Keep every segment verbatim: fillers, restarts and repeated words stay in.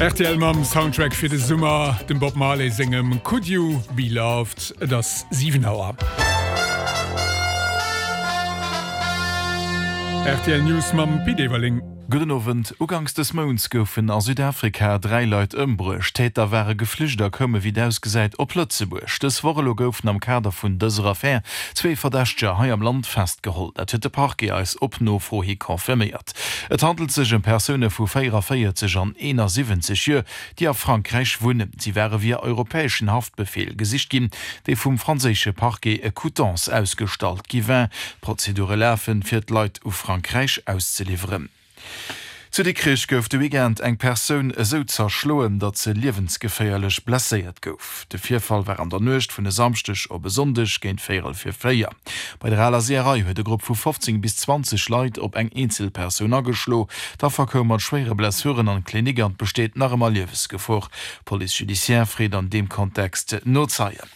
R T L mam Soundtrack fir de Summer, dem Bob Marley sengem Could You Be Loved. Et ass siwen Auer. R T L News mam Pit Everling. Gudden Owend. Uganks des Mounts goufen a Südafrika dräi Leit ëmbruecht. D'Täter ware geflücht a koume wéi et ausgesäit op Lëtzebuerg. Dës Woch elo goufen am Kader vun dëser Affär zwee Verdächteger hei am Land festgeholl. Dat huet de Parquet eis op Nofro hi confirméiert. Et handelt sech ëm Persoune vu véieranvéierzeg an eenasiwwenzeg Joer, déi a Frankräich wunnen. Si ware via europäeschen Haftbefeel gesicht ginn, dee vum franséische Parquet e Coutances ausgestallt gi war. D'Prozedure lafen, fir d'Leit u Frankräich auszeliwweren. Zu Dikrech gouf de Weekend eng Persoun esou zerschloen, datt se liewensgeféierlech blesséiert gouf. De Virfall war an der Nuecht vun e Samschdeg op e Sonndeg géint véierel vir véier. Bei der Aler Seeërei huet e Grupp vu fofzéng bis zwanzeg Leit op eng eenzel Persoun ageschlo. D'Affer koum mat schwéiere Blessuren an d'Klinik an et besteet nach ëmmer Liewesgefor. D'Police judiciaire freet an deem Kontext no Zeien.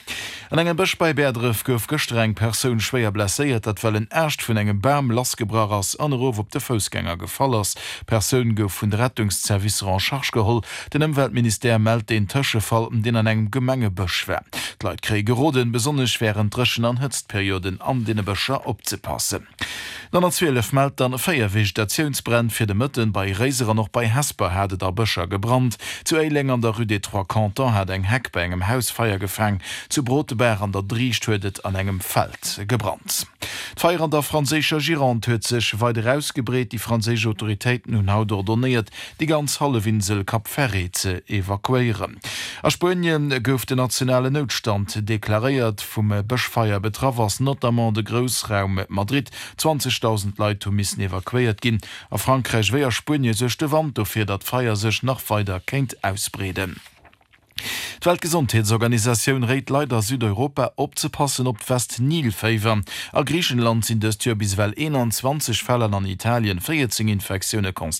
An engem Bësch bei Bäerdref gouf gëschter eng Persoun schwéier blesséiert, dat well en Aascht vun engem Bam lassgebrach ass an erof op de Foussgänger gefall ass. D'Persoun gouf vun de Rettungszervicer en charge geholl. Den Ëmweltministère mellt deen Tëschefall, deen an engem Gemengebësch war. D'Leit kréie geroden, besonnesch wärend Dréchen an Hëtztperioden an deene Bëscher opzepassen. D'honnertzwielef mellt dann véier Vegetatiounsbränn fir de Mëtten. Bei Réiser an och bei Hesper hat et a Bëscher gebrannt. Zu Éileng an der Rue des Trois Cantons hat eng Heck bei engem Haus Feier gefaang. Zu Brotebaach an der Driicht huet et an engem Feld gebrannt. D'Feier an der franséischer Gironde huet sech weider ausgebreet. Déi franséisch Autoritéiten hunn haut ordonnéiert, déi ganz Hallefinsel Cap Ferret ze evakuéieren. A Spuenien gouf den nationalen Noutstand deklaréiert. Vum Bëschfeier betraff ass notamment de Groussraum Madrid. zwanzegdausend Leit hu missen evakuéiert ginn. A Frankräich wéi a Spuenie suergt de Wand dofir, datt d'Feier sech nach weider kéint ausbreeden. D'Weltgesondheetsorganisatioun réit Leit a Südeuropa opzepassen op d'West-Nil-Féiwer. A Griichenland sinn dëst Joer bis ewell eenanzwanzeg Fäll an an Italien véierzéng Infektioune constatéiert.